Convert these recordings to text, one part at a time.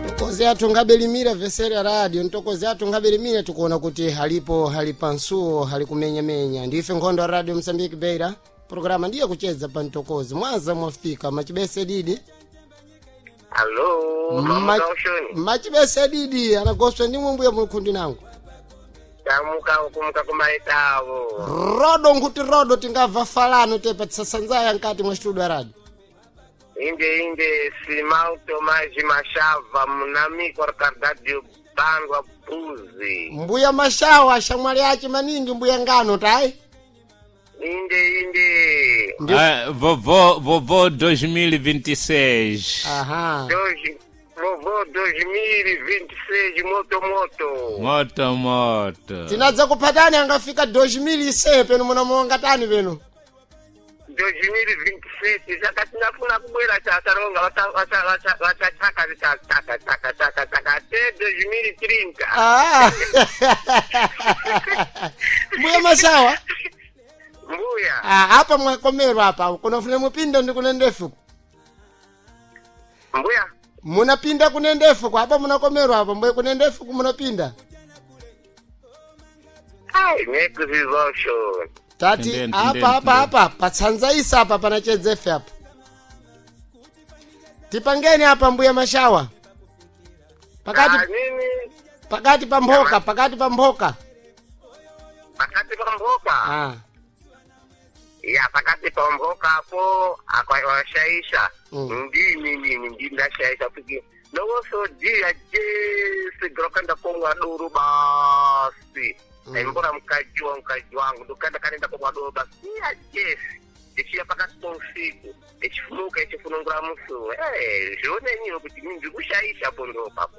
Ntokozi athu ngabelimira veseri ya radio, ntokozi athu ngabelimira, tikuona kuti halipo halipansuo halikumenyamenya. Ndife nkhondo ya Radio Msambiki Beira, programa ndiye kucheza pa ntokozi. Mwanza mwafika machibese didi. Alo, mama ushoni. Machibese didi anagoswa ndimwe mbuya mulukhundi nangu. Tamuka kumuka kumaitavo. Rodo nkuti rodo tingabva falano tepa tisasanzaya nkati mwa studio ya radio. Inde inde simauto maji mashava munamikwa rikadadio bandwa buzi. Mbuya mashawa shamwali ache maningi mbuya ngano tai. Inde inde. Ndio. Ah, vovô, vovô 2026. Aha. Dois, vovô 2026 moto moto. Moto moto. Tinadza kuphatani angafika 2007 peno munamuonga tani peno. 2027 saka tinafuna kubwera chataronga vachachaka chaka chaka chaka chaka te 2030. Ah. Mbuya mashawa. Mbuya. Ah, apa mwakomerwa apa kunafuna mupinda ndi kunendefu. Mbuya. Munapinda kunendefu kwa apa munakomerwa apa mbuya kunendefu kumunapinda. Ai, nekuziva ushoni. Tati Tendeni, apa tendeni, apa tendeni. apa patsanzaisa apa panachedzefe apa. Tipangeni apa mbuya mashawa. Pakati Ah, nini? pakati pa mphoka, pakati pa mphoka. Pakati pa mboka. Ah. Ya pakati pa mboka apo akwashaisha. Ndini nini ndini ndashaisha piki. Nowoso dia jesi grokanda kongwa duru basi. Aimbora mkaji wa mkaji wangu ndokanda kanenda kongwa duru basi. Ya jesi. Ichiya pakati pa usiku. Ichifunuka ichifunungura musu. Eh, zvionenyiwo kuti ndiri kushaisha pondo papo.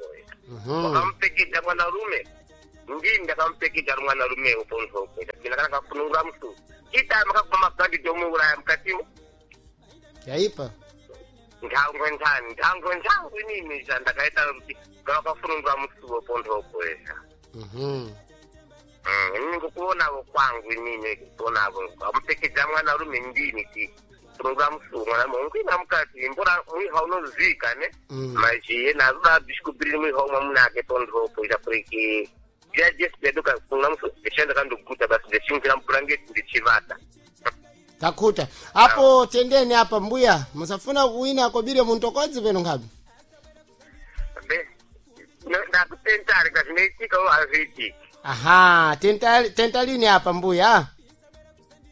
Wakamupekeja mwanarume. Ndini ndakamupekeja mwanarume uponzoko. Ndakana kafunungura musu. Chitama kakubva mabhandi domuuraya mukatimo. Yaipa. Ndangwe ndani, ndangwe ndangwe inini zvandakaita kuti ngavakafunungura musuwo pondoko esa. Inini ngokuonavo kwangu inini kuonavo. Amupekeja mwanarume ndini ti. Funungura musuwo mwanarume. Ungwina mukati mbora mwiha unozika ne. Mazhiye nazoda bishikubiriri mwiha umwe munake pondoko ita puriki. Ndiya jesu ndeduka funungura musuwo ndishanda kandoguta basi ndichinjira mubhurangeti ndichivata. Takuta. Apo tendeni apa mbuya, musafuna kuwina kobire muntokodzi peno ngapi? Be, ndakutentari kazvinoitika hazviitiki. Aha, tenta tentalini apa mbuya.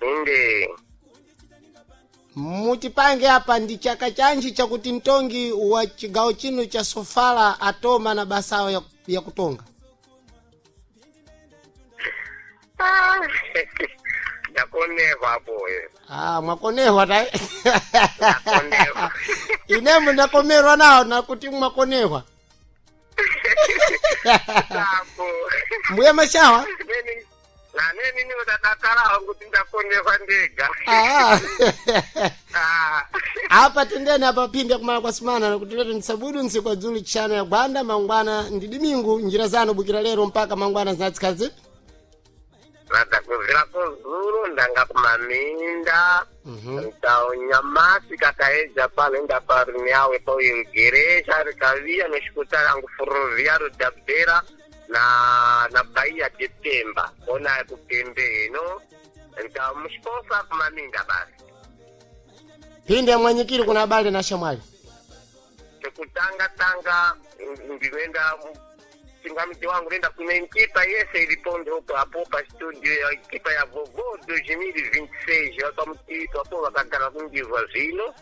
Inde. Mutipange apa ndi chaka chanji chakuti mtongi wa chigawo chino cha Sofala atoma na basawo ya kutonga. Ndakonehwa apo. Ah, mwakonehwa ta. Ndakonehwa. Inemu ndakomerwa nawo nakuti mwakonehwa. Apo. Mbuya mashawa. Neni naneni ndakakalawo kuti ndakonehwa ndega. Ah. Ah. Apa tendeni apa pinde kumala kwa simana nakuti lero ndisabudu ntsiku dzulu chano ya gwanda mangwana ndi dimingu njira zanu bukira lero mpaka mangwana zinatsikazi. Ndakubvira kuzuru ndanga kumaminda. Nyamasi kakaedza pano enda parinyawe pauigeresha rikaviya nosvikuta rangu ferroviário da Beira na Bahia de Pemba ona kupembe ino então mushiposa kumaminda basi. Pinde mwanyikiri kuna abale na shamwali. Chekutanga tanga ndinoenda chingamiti wangu nenda kune nkipa yese iripo ndoko apo pa studio ya nkipa ya vovô 2026 vakamutito apo vakagara kundivwa zvino.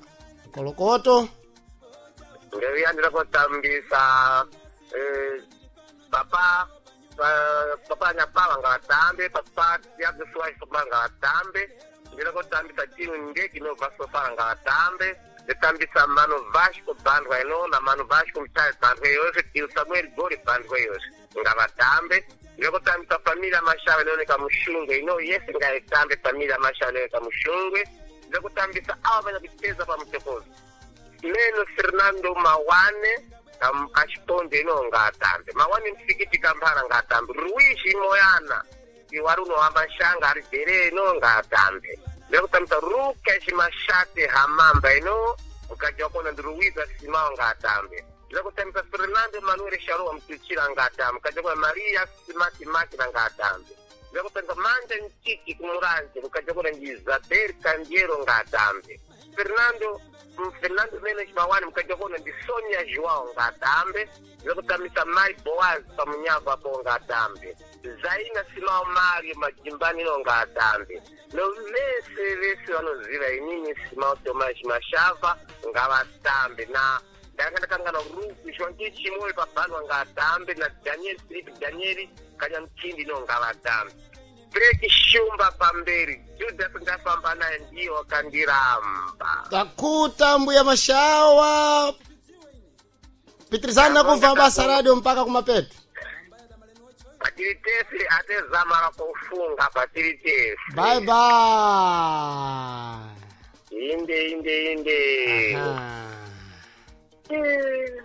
Kolokoto. Ndoviyandira kutambisa papa papa nyapava ngavatambe papa yakusuwai ngavatambe ndira kutambisa timu ndegi inobva sofala ngavatambe ndotambisa mano Vasco bandwa ino na mano Vasco mutare bandwa yose timu Samuel Gori bandwa yose ngavatambe. Ndira kutambisa familia Mashava inooneka mushungwe ino yese ngaitambe familia Mashava inooneka mushungwe. Ndira kutambisa avo vanya kucheza pamutokozi Neno Fernando Mawane achiponde ino ngaatambe Mawane msikiti kambara ngaatambe Ruishi Moyana iwari unohamba shanga ari dhere ino ngaatambe ndekutambisa Rukesh Mashate Hamamba ino mukadzi wakona ndi Ruiza Simao ngaatambe ndekutambisa Fernando Fernando Manuel Sharoa Mtuchila ngatambe mkajakula Maria Simati Makina ngatambe ndakupenda manja nchiki kumuranje mkajakula ndi Isabel Kandiero ngatambe Fernando Fernando Menes Mawani mkajakula ndi Sonia Joao ngatambe ndikutamisa Mai Boaz pamunyavu apo ngatambe Zaina Simao Mario majimbanino ngatambe no vese vese vanoziva inini Simao Tomás Mashava ngavatambe na ndakandakangana rufu shwangi chimwe pabhanwa ngatambe na Daniel Philip Danieli kanyamchindi no ngavatambe Breki Shumba pamberi Judas ndafamba naye ndiye wakandiramba Takuta mbuya Mashawa. Pitirizani nakumva basa radio mpaka kumapeto. Patiri tese atezamara kufunga patiri tese Bye bye. Inde inde inde. Aha. Eh.